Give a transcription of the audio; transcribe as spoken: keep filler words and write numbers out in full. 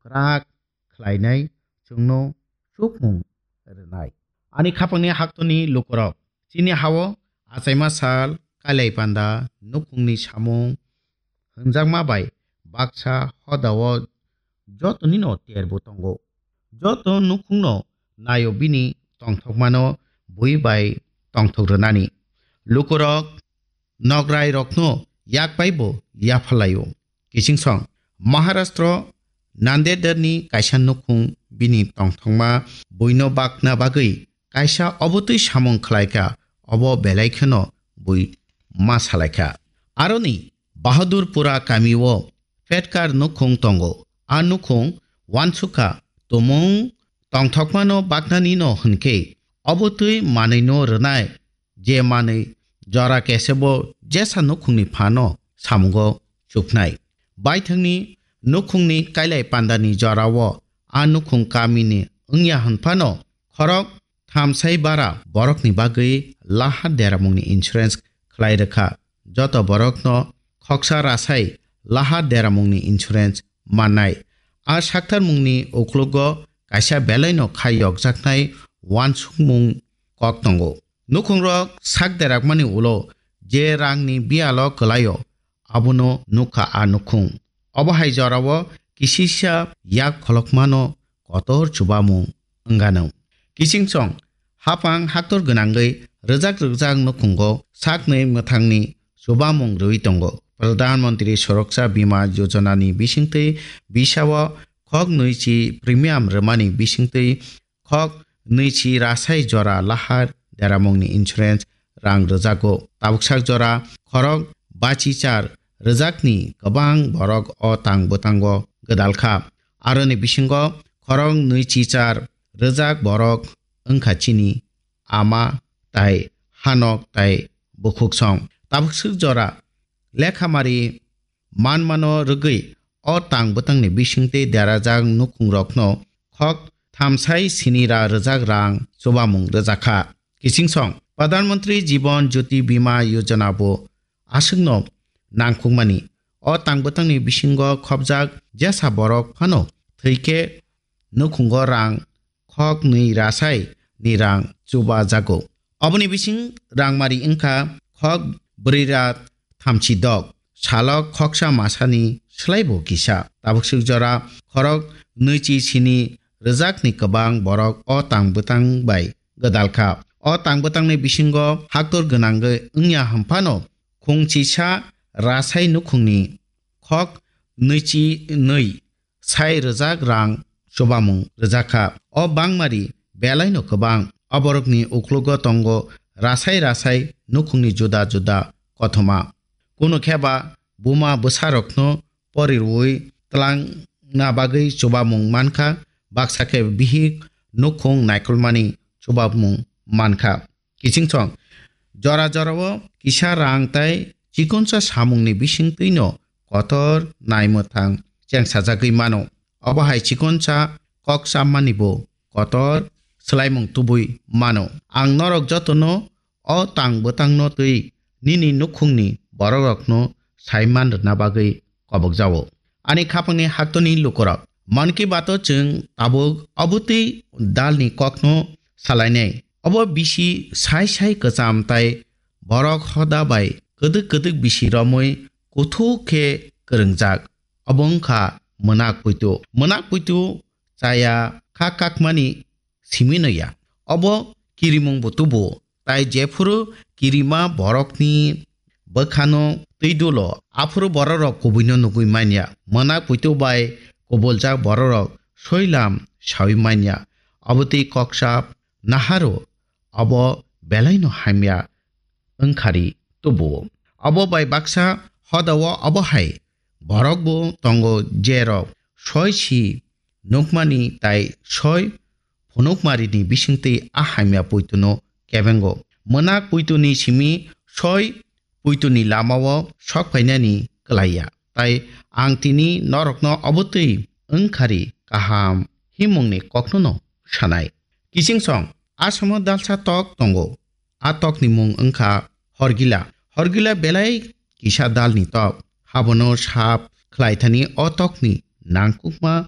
twrak khlainai, chwngno chukmung rwnai. Ani khapangni haktoni lukurok, chini hao achaima sal, kailai panda, nukhungni samung hwnjakma bai baksa hodao jotonino terbo tongo. Joto nukhungno naio bini tongthokmano bui bai tongthok rwnani. Lukurok nograirokno yak paibo yaphalaio. Kichingsong Maharashtra Nandedni kaisa nukhung bini tongthokma buino bakna bagwi kaisa obotwi samung khlaikha, obo belai kheno bui ma salaikha. Aroni Bahadurpura kamio Petkar nukhung tongo. A nukhung wansukha tumung tongthokmano baknanino hwnkhe obotwi manwino rwnai, je manwi jora kesebo jesa nukhungni phano samungo chuknai. Baithangni nukhungni kailai pandani jorao a nukhung kamini wngya hwnphano khorok thamsai bara borokni bagwi lahar deramungni insurance khlai rwkha. Joto borokno khoksa rasai lahar deramungni insurance mannai. A saktarmungni uklogo kaisa belaino khai yokjaknai wansukmung kok tongo. Nukhungrok sak derakmani ulo je rangni biyalo kwlaio, abono nukha a nukhung. Obo hai jorao kisisa yak kholokmano kotor chubamung wngano. Kichingsong hapang haktor gwnangwi rwjak rwjak nukhungo saknwi mwthangni chubamung rwui tongo. Pradhan Mantri Suraksha Bima Yojana ni bisingtwi bisao khok nwichi premium rwmani bisingtwi khok nwichi rasai jora lahar deramungni insurance rang rwjago. Tabuksak jora khorok bachi char rwjakni kwbang borok o tang bwtango gwdalkha. Aroni bisingo khorok nwichi char rwjak borok wngkha chini ama tai hanok tai bukhuksong. Tabuksak jora lekhamari manmano rwgwi o tang bwtangni bisingtwi derajak nukhungrokno khok thamsai sini ra rwjak rang chubamung rwjakha. Kichingsong Pradhan Mantri Jiban Jyoti Bima Yojana bo aswkno nangkukmani. O tang bwtangni bisingo khopjak jesa borok phano thwikhe nukhungo rang khok nwi rasai ni rang chuba jago. Oboni bising rangmari wngkha khok brwi ra thamchi dok, salok khoksa masani slaibo kisa. Tabuksuk jora khorok nwichi sini rwjakni kwbang borok o tang bwtang bai gwdalkha. O tang bwtangni bisingo haktor gwnangwi wngya hwnphano khungchisa rasai nukhungni khok nwichi nwi sai rwjak rang chubamung rwjakha. O bangmari belaino kwbang. Oborokni uklogo tongo rasai rasai nukhungni juda juda kothoma. Kunu kheba buma bwsarokno porirwi twlangna bagwi chubamung mankha, baksa khe bihik nukhung naikolmani chubamung mankha. Kichingsong jora jorao kisa rang tai chikonsa samungni bisingtwino kotor naimwthang chengsajagwi mano. Obo hai chikonsa kok chammanibo kotor swlaimung tubui mano. Ang norok jotono o tang bwtangno twi nini nukhungni borokrokno saiman rwna bagwi kobokjao. Ani khapangni haktoni lukurok, Mann Ki Bato chwng tabuk obotwi dalni kokno salainai. Obo bisi sai sai kwcham tai borok hoda bai kwdwk kwdwk bisi romwi kuthuk khe kwrwngjak. Obo wngkha mwnak puitu. Mwnak puitu chaya kha kakmani simi no ya. Obo kirimung bo tubu, tai jephuru kirima borokni bwkhano twi dulo, aphuru bororok kubuino nugwi manya. Mwnak puitu bai kubuljak bororok soilam sawi manya. Obotwi koksa naharo, obo belaino hamya wngkhari tubuo. Obo bai baksa hodao obo hai borok bo tongo, jerok soi si nukmani tai soi phunukmarini bisingtwi a hamya puituno kebengo. Mwnak puituni simi soi puituni lamao sok phainani kwlaiya. Tai ang tini norokno obotwi wngkhari kaham himungni koknono sanai. Kichingsong, asamo dalsa tok tongo. A tokni mung wngkha horgila. Horgila belai kisa dalni tok. Habono sap khlaithani o tokni nangkukma